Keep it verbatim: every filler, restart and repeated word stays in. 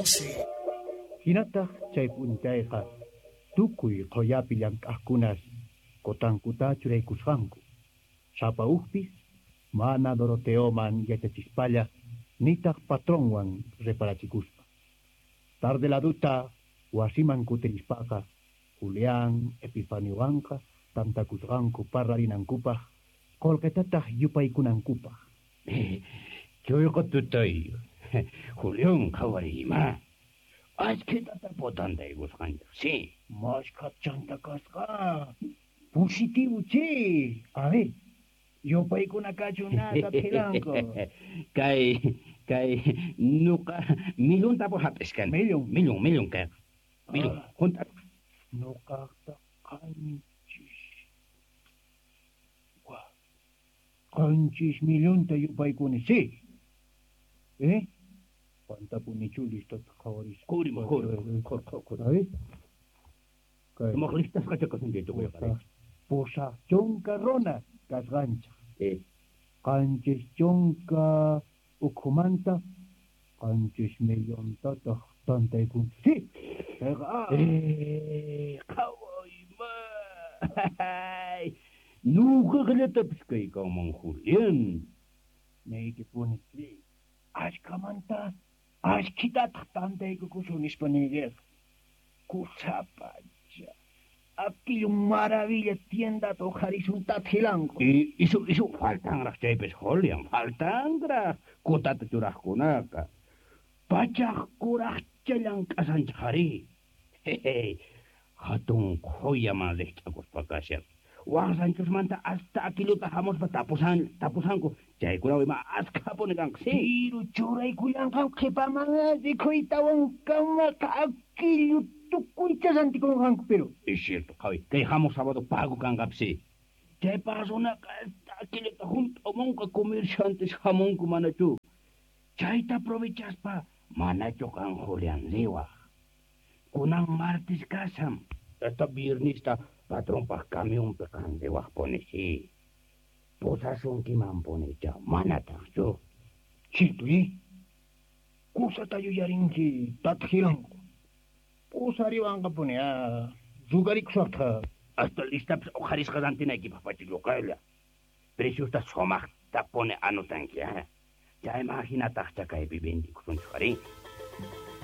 doce. Hinataq chay p'unchayqa tukuy qhuyapi llank'aqkunas kutankuta churaykusqanku. Sapa ujpis mana Doroteoman yachachispalla nitaq patronwan reparachikuspa. Tarde laduta wasiman kutirispaqa Julián Epifaniowanqa tantakusqanku parlarinankupaq qullqitataq yupaykunankupaq. Chuyqa tutay Julián qhawariyma. Ashkhitata potantaykusqanchik, sí. Mashkha chanta kasqa. Positivo che. A ver, yupaykuna kachun nata philanku. Kay kay nuqa millón tapu hap'iskan. Millón. Millón, millón kay. Millón. Ah. Junta. Nuqaqta qanchis. Wa. Qanchis millonta yupaykuni, sí. Eh? Pantapunichu listata qhawarisqa. Qurima, qurima, qur, qur, qur. A ver. Kay. Sumaq listasqacha kasun chay tukuyqa. Pusaq, pusaq chunka runa kasqanchik. Eh. Qanchis chunka ukhumanta qanchis millontataq tantaykunchik. Sí. Chayqa, ah. Eh, qhawayma. Nuqaqllatapis kaykanman Julián. Niykipuni. Ashkhamanta ashkhitataq tantaykukusun nispa niykiqa. Kusapacha. Aquillo maravilla tiendata uqharisun tathilanku. Y isu isu faltanraq chaypis Julián, faltanraq kutata churaqkunaqa. Pachaq kuraqcha llank'asanchik ari. Hehe. Hatun qhuyaman riqch'akuspa kashan. Waq ranchosmanta hasta aquilluta hamuspa tapusan tapusanku. Chaykunawan ima askhapuni kanqa, sí. Piru churaykullanqan qhipaman rikhuytawankamaqa aquillu tukuycha rantikunqanku pero. Es cierto, qhawi. Kay hamuq sábado pago kanqapis, sí. Chaypaq runaqa hasta aquilluta hunt'amunqa comerciantes hamunku manachu. Chayta aprovechaspa manachu qan Julián riwaq. Kunan martes kashan. Hasta viernesta patronpaq camionpi qan riwaqpuni, sí. Pusasunkimanpunicha, manataqchu. Cierto, eh? Kusata yuyarinki tathilanku. Pusariwanqapuni, ah, rugarikusaqta. Hasta listapis uqharisqa rantinaykipaq pachilluqalla. Preciosta sumaqtapuni anotanki, ah. Chayman hinataqcha kaypi vendikusunchik ari.